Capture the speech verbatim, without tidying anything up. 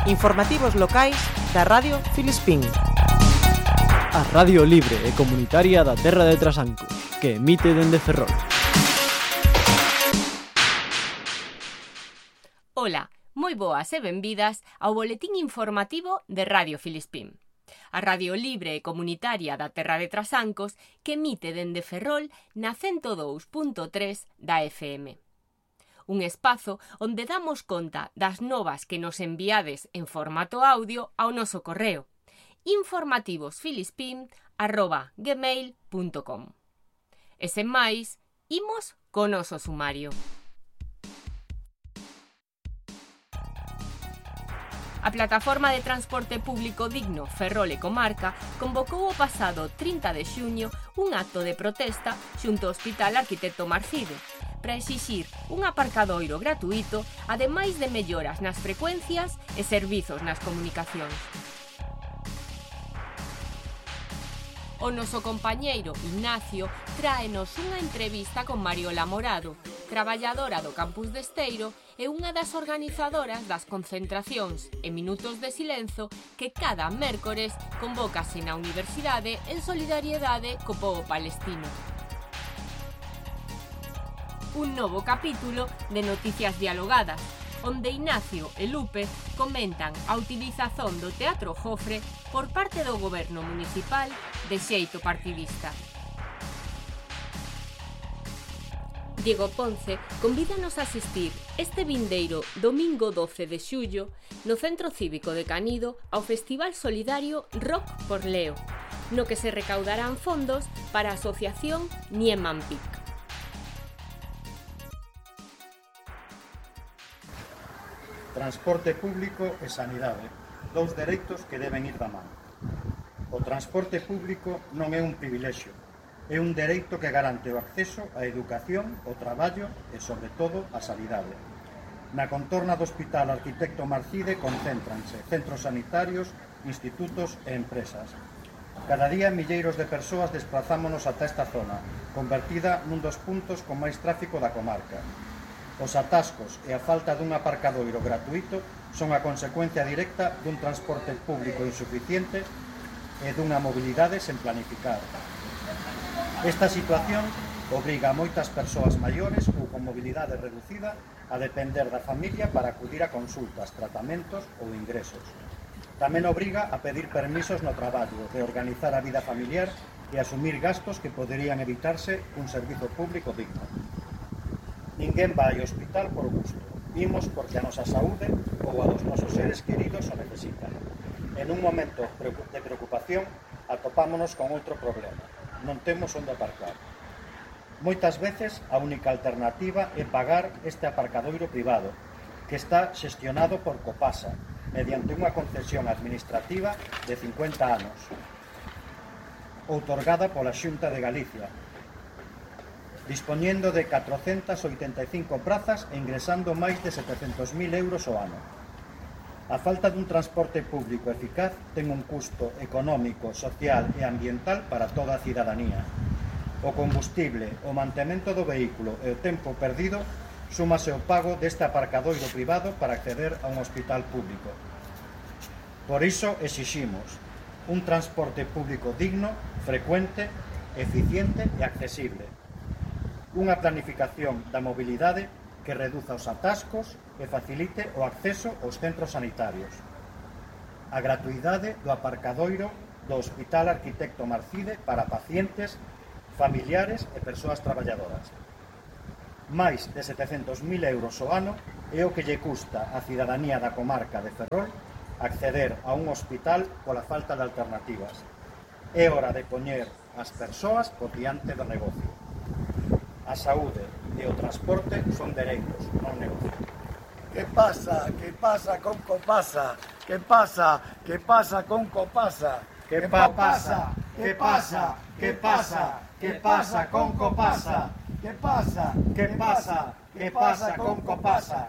Informativos locais da Radio Filispín. A radio libre e comunitaria da terra de Trasancos, que emite dende Ferrol. Ola, moi boas e benvidas ao boletín informativo de Radio Filispín. A radio libre e comunitaria da terra de Trasancos que emite dende Ferrol na cento dous punto tres da F M. Un espazo onde damos conta das novas que nos enviades en formato audio ao noso correo informativosfilispín arroba gmail punto com. E sen máis, imos co noso sumario. A Plataforma de Transporte Público Digno Ferrol e Comarca convocou o pasado trinta de xuño un acto de protesta xunto ao Hospital Arquitecto Marcide para exixir un aparcadoiro gratuito, ademais de melloras nas frecuencias e servizos nas comunicacións. O noso compañeiro Ignacio tráenos unha entrevista con Mariola Morado, traballadora do campus de Esteiro e unha das organizadoras das concentracións e minutos de silenzo que cada mércores convócase na universidade en solidariedade co pobo palestino. Un novo capítulo de Noticias Dialogadas, onde Ignacio e Lupe comentan a utilización do Teatro Jofre por parte do goberno municipal de xeito partidista. Diego Ponce convídanos a asistir este vindeiro domingo doce de xullo no Centro Cívico de Canido ao Festival Solidario Rock por Leo, no que se recaudarán fondos para a asociación Nieman Pic. Transporte público e sanidade, dous dereitos que deben ir da man. O transporte público non é un privilexio, é un dereito que garante o acceso á educación, ao traballo e, sobre todo, á sanidade. Na contorna do Hospital Arquitecto Marcide concéntranse centros sanitarios, institutos e empresas. Cada día milleiros de persoas desplazámonos ata esta zona, convertida nun dos puntos con máis tráfico da comarca. Os atascos e a falta dun aparcadoiro gratuito son a consecuencia directa dun transporte público insuficiente e dunha mobilidade sen planificar. Esta situación obriga a moitas persoas maiores ou con mobilidade reducida a depender da familia para acudir a consultas, tratamentos ou ingresos. Tamén obriga a pedir permisos no traballo, reorganizar a vida familiar e asumir gastos que poderían evitarse cun servizo público digno. Ninguén vai ao hospital por gusto. Imos porque a nosa saúde ou a dos nosos seres queridos o necesitan. En un momento de preocupación atopámonos con outro problema. Non temos onde aparcar. Moitas veces a única alternativa é pagar este aparcadoiro privado, que está xestionado por Copasa, mediante unha concesión administrativa de cincuenta anos, outorgada pola Xunta de Galicia, dispoñendo de catrocentas oitenta e cinco prazas e ingresando máis de setecentos mil euros ao ano. A falta dun transporte público eficaz ten un custo económico, social e ambiental para toda a cidadanía. O combustible, o mantemento do vehículo e o tempo perdido súmase ao pago deste aparcadoiro privado para acceder a un hospital público. Por iso exiximos un transporte público digno, frecuente, eficiente e accesible. Unha planificación da mobilidade que reduza os atascos e facilite o acceso aos centros sanitarios. A gratuidade do aparcadoiro do Hospital Arquitecto Marcide para pacientes, familiares e persoas traballadoras. Máis de setecentos mil euros ao ano é o que lle custa á cidadanía da comarca de Ferrol acceder a un hospital pola falta de alternativas. É hora de poñer as persoas por diante do negocio. A saúde e o transporte son dereitos, non negocio. Que pasa? Que pasa con Copasa? Que pasa? Que pasa con Copasa? Que pa pasa? Que pasa? Que pasa? Que pasa con Copasa? Que pasa? Que pasa? Que pasa con Copasa?